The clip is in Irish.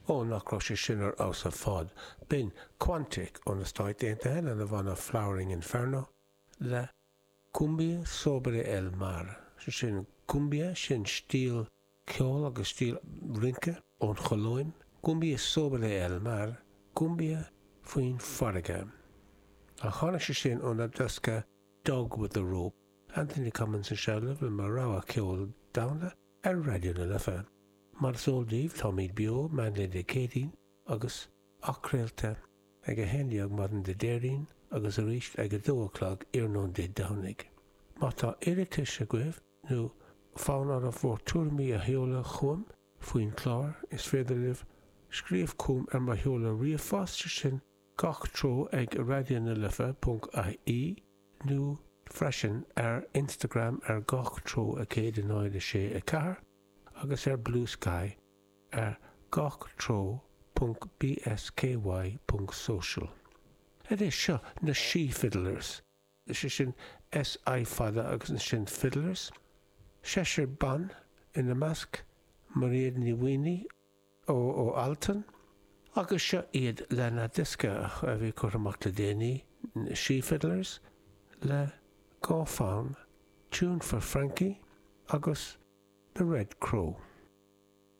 Ó, nach raibh sé sin ar fheabhas ar fad. B'in Quantic ó na Stáit Aontaithe lena bhanna Flowering Inferno le Cumbia Sobre El Mar. Sé sin cumbia, sin stíl ceoil agus stíl rince ón Cholóim. Cumbia Sobre El Mar, cumbia faoin bhfarraige. Ach tháinig sé sin óna diosca Dog with a Rope. Anthony Cummins anseo libh le mo rogha ceoil domhanda ar Raidió na Life. Mar is eol daoibh, táimid beo meánlae Dé Céadaoin agus athchraolta ag 11 maidin Dé Déardaoin agus arís ag 2 a chlog iarnóin Dé Domhnaigh. Má tá iarratais agaibh nó fonn oraibh bhur tuairimí a sheoladh chugam faoin chlár, is féidir libh scríobh chugam ar mo sheoladh ríomhphost, sé sin gach treo ag raidionalife ponc ie nó freisin ar Instagram ar gach treo 1 0 6 4 agus ar Bluesky ar gach treo ponc bsky ponc social. Anois, seo na Sí Fiddlers, sé sin SI fada agus ansin Fiddlers, seisear ban ina measc, Mairéad Ní Mhaonaigh ó ó Altan, agus seo iad lena diosca a bhí curtha amach le déanaí, Sí Fiddlers, le dhá fonn, Tune for Frankie agus The Red Crow.